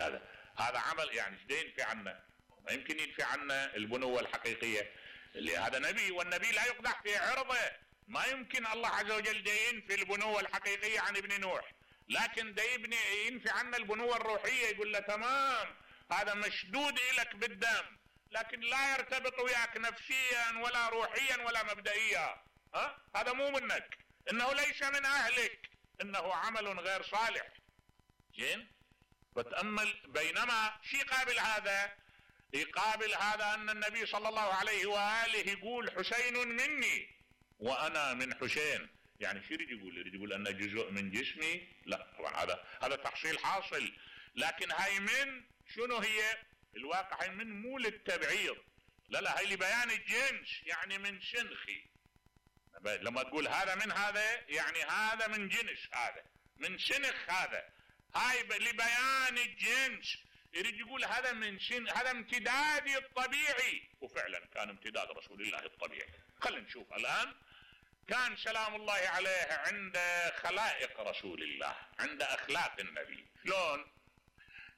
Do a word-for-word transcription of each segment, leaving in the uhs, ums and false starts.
هذا هذا عمل يعني ايش ينفي عنا؟ ما يمكن ينفي عنا البنوة الحقيقية اللي هذا نبي، والنبي لا يقدح في عرضه. ما يمكن الله عز وجل دا ينفي البنوة الحقيقية عن ابن نوح، لكن دا يبني ينفي عنا البنوة الروحية. يقول له تمام هذا مشدود إلك بالدم، لكن لا يرتبط وياك نفسيا ولا روحيا ولا مبدئيا. ها هذا مو منك، انه ليس من اهلك، انه عمل غير صالح. زين، فتأمل. بينما شي قابل هذا، يقابل هذا ان النبي صلى الله عليه وآله يقول حسين مني وانا من حسين. يعني شو يريد يقول؟ يريد يقول انه جزء من جسمي؟ لا طبعا هذا هذا تحصيل حاصل. لكن هاي من شنو هي؟ الواقع هاي من مو للتبعيض، لا لا، هاي لبيان الجنس، يعني من شنخي. لما تقول هذا من هذا يعني هذا من جنس، هذا من شنخ، هذا هاي لبيان الجنس. يريد يقول هذا من شن، هذا امتدادي الطبيعي. وفعلا كان امتداد رسول الله الطبيعي. خلينا نشوف الآن. كان سلام الله عليه عند خلائق رسول الله، عند أخلاق النبي شلون؟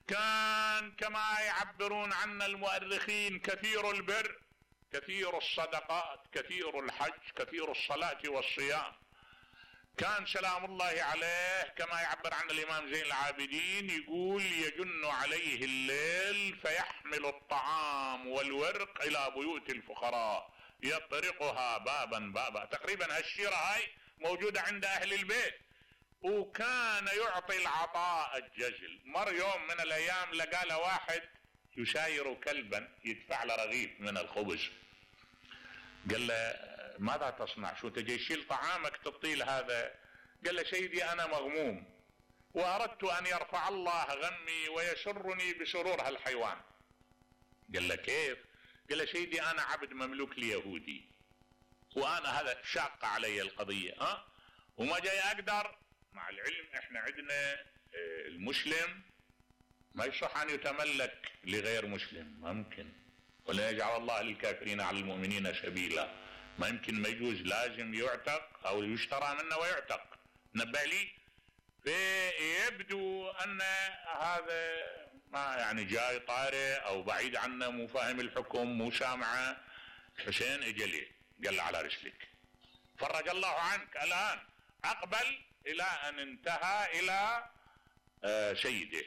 كان كما يعبرون عنا المؤرخين كثير البر، كثير الصدقات، كثير الحج، كثير الصلاة والصيام. كان سلام الله عليه كما يعبر عن الإمام زين العابدين، يقول يجن عليه الليل فيحمل الطعام والورق إلى بيوت الفقراء يطرقها بابا بابا. تقريبا هالشيرة هاي موجودة عند أهل البيت. وكان يعطي العطاء الجزل. مر يوم من الأيام لقى له واحد يساير كلبا يدفع له رغيف من الخبز. قال له ماذا تصنع؟ شو تجي تشيل طعامك تعطيه هذا؟ قال له سيدي أنا مغموم وأردت أن يرفع الله غمي ويسرني بسرور هالحيوان. قال له كيف؟ قال له سيدي أنا عبد مملوك ليهودي، وأنا هذا شاق علي القضية، ها وما جاي أقدر. مع العلم احنا عندنا المسلم ما يصح أن يتملك لغير مسلم، ما يمكن. ولا يجعل الله للكافرين على المؤمنين سبيلا. ما يمكن، ما يجوز، لازم يعتق أو يشترى منه ويعتق. نبه لي. فيبدو أن هذا ما يعني جاي طارئ أو بعيد عنه، مو فاهم الحكم، مو سامعه. حسين اجى ليه قال له على رسلك، فرج الله عنك. الآن أقبل إلى أن انتهى إلى آه سيده.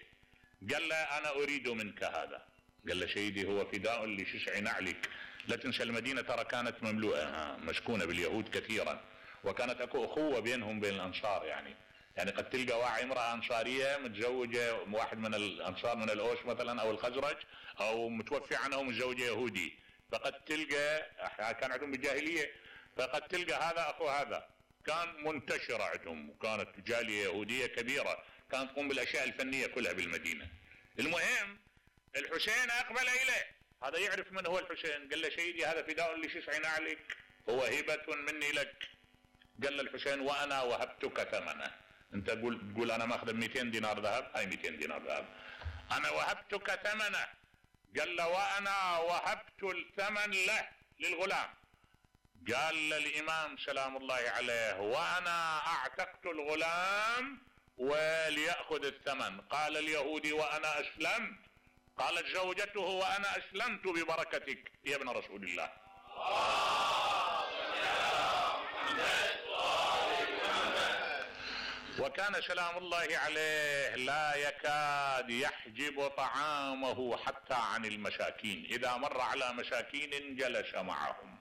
قال له أنا أريد منك هذا. قال له سيدي هو فداء لشسع نعلك. لا تنسى المدينة ترى كانت مملوءة مسكونة باليهود كثيرا، وكانت أكو أخوة بينهم بين الأنصار. يعني يعني قد تلقى واحد امرأة أنصارية متزوجة واحد من الأنصار من الأوس مثلا أو الخزرج، أو متوفي عنه ومتزوجة يهودي. فقد تلقى كان عندهم بالجاهلية، فقد تلقى هذا أخو هذا. كان منتشرة عندهم، وكانت جالية يهودية كبيرة كانت تقوم بالأشياء الفنية كلها بالمدينة. المهم الحسين أقبل إليه. هذا يعرف من هو الحسين. قال له سيدي هذا فداء لشسع نعلك، هو هبة مني لك. قال له الحسين وأنا وهبتك ثمنه. أنت تقول تقول أنا ماخذ مئتين دينار ذهب، هاي مئتين دينار ذهب، أنا وهبتك ثمنه. قال له وأنا وهبت الثمن له للغلام. قال الإمام سلام الله عليه وأنا أعتقت الغلام وليأخذ الثمن. قال اليهودي وأنا أسلمت. قالت زوجته وأنا أسلمت ببركتك يا ابن رسول الله. وكان سلام الله عليه لا يكاد يحجب طعامه حتى عن المساكين. إذا مر على مساكين جلس معهم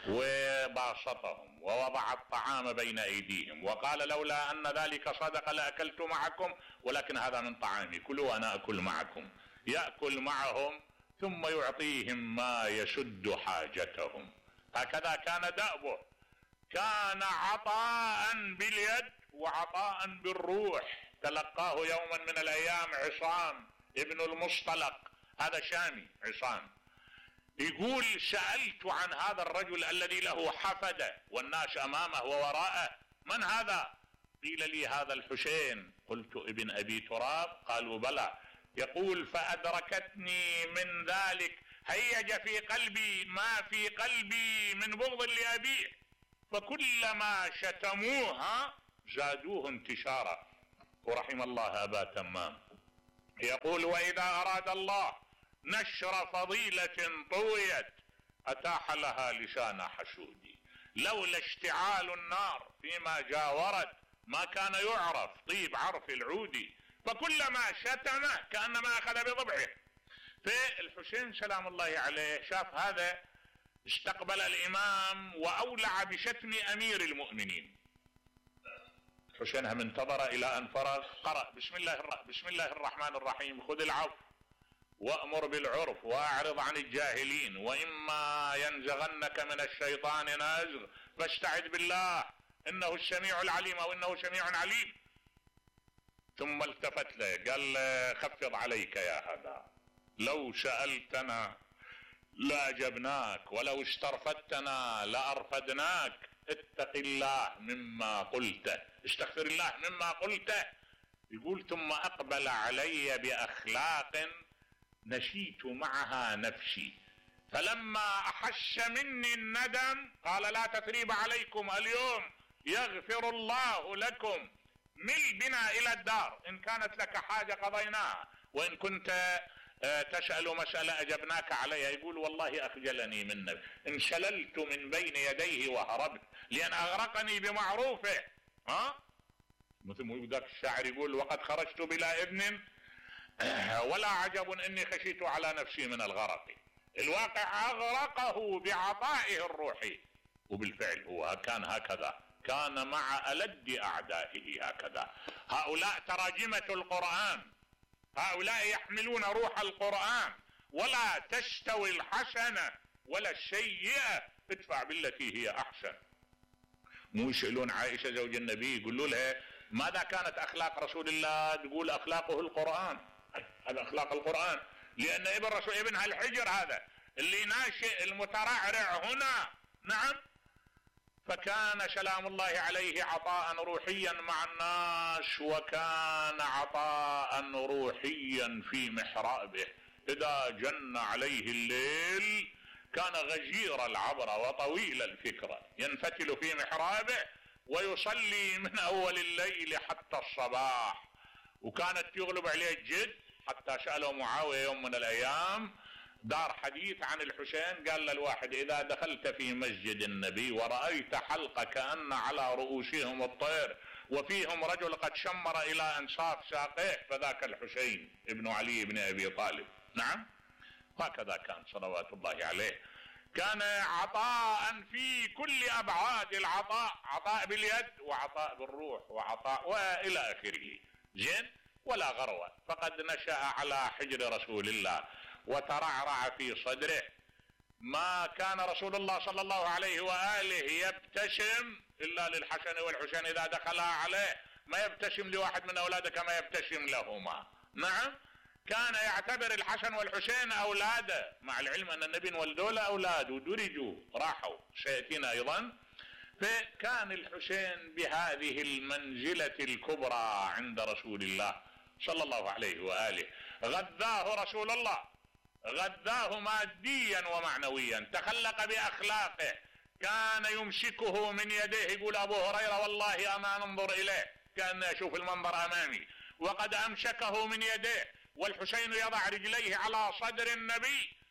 وباسطهم ووضع الطعام بين أيديهم، وقال لولا أن ذلك صدق لأكلت معكم، ولكن هذا من طعامي، كلوا وأنا أكل معكم. يأكل معهم ثم يعطيهم ما يسد حاجتهم. هكذا كان دأبه. كان عطاء باليد وعطاء بالروح. تلقاه يوما من الأيام عصام ابن المصطلق، هذا شامي عصام، يقول سألت عن هذا الرجل الذي له حفدة والناس أمامه ووراءه، من هذا؟ قيل لي هذا الحسين. قلت ابن أبي تراب؟ قالوا بلى. يقول فأدركتني من ذلك هيج في قلبي ما في قلبي من بغض لأبيه، فكلما شتموها زادوه انتشارا. ورحم الله أبا تمام. يقول وإذا أراد الله نشر فضيلة طويت أتاح لها لسان حشود، لولا اشتعال النار فيما جاورت ما كان يعرف طيب عرف العود، فكلما شتم كأنما أخذ بضبعه. فالحسين سلام الله عليه شاف هذا، استقبل الإمام وأولع بشتم أمير المؤمنين. الحسين هم انتظر إلى أن فرغ، قرأ بسم الله الرحمن, بسم الله الرحمن الرحيم خذ العفو وأمر بالعرف وأعرض عن الجاهلين وإما ينزغنك من الشيطان نزغ فاستعذ بالله إنه السميع العليم أو إنه سميع عليم. ثم التفت له قال خفض عليك يا هذا، لو سألتنا لأجبناك ولو استرفدتنا لأرفدناك، اتق الله مما قلته، استغفر الله مما قلته. يقول ثم أقبل علي بأخلاق نشيت معها نفسي، فلما أحش مني الندم قال لا تثريب عليكم اليوم يغفر الله لكم، مل بنا إلى الدار، إن كانت لك حاجة قضيناها وإن كنت تسأل مسألة أجبناك عليها. يقول والله أخجلني منك، انشللت من بين يديه وهربت لأن أغرقني بمعروفه. ها مثل ما ذاك الشاعر يقول وقد خرجت بلا ابن ولا عجب إني خشيت على نفسي من الغرق. الواقع أغرقه بعطائه الروحي، وبالفعل هو كان هكذا، كان مع ألد أعدائه هكذا. هؤلاء تراجمة القرآن، هؤلاء يحملون روح القرآن، ولا تستوي الحسنة ولا السيئة، ادفع بالتي هي أحسن. مو يسألون عائشة زوج النبي يقولوا لها ماذا كانت أخلاق رسول الله؟ تقول أخلاقه القرآن، هذا أخلاق القرآن، لأن ابن رسول ابنها الحجر هذا اللي ناشئ المترعرع هنا. نعم. فكان سلام الله عليه عطاء روحيا مع الناس، وكان عطاء روحيا في محرابه. إذا جن عليه الليل كان غزير العبرة وطويل الفكرة، ينفتل في محرابه ويصلي من أول الليل حتى الصباح. وكانت يغلب عليه الجد حتى سأله معاوية يوم من الأيام دار حديث عن الحسين، قال للواحد إذا دخلت في مسجد النبي ورأيت حلقة كأن على رؤوسهم الطير وفيهم رجل قد شمر إلى أنصاف ساقيه فذاك الحسين ابن علي بن أبي طالب. نعم. هكذا كان صلوات الله عليه، كان عطاء في كل أبعاد العطاء، عطاء باليد وعطاء بالروح وعطاء وإلى آخره. زين. ولا غروة، فقد نشأ على حجر رسول الله وترعرع في صدره. ما كان رسول الله صلى الله عليه وآله يبتسم إلا للحسن والحسين إذا دخلا عليه، ما يبتسم لواحد من أولاده كما يبتسم لهما. نعم. كان يعتبر الحسن والحسين أولاده، مع العلم أن النبي ولدوا له أولاد ودرجوا راحوا سيأتينا أيضا. فكان الحسين بهذه المنزلة الكبرى عند رسول الله صلى الله عليه وآله. غذاه رسول الله، غذاه ماديا ومعنويا، تخلق بأخلاقه، كان يمسكه من يديه. يقول أبو هريرة والله أما ننظر إليه كأن أشوف المنظر أمامي، وقد أمسكه من يديه والحسين يضع رجليه على صدر النبي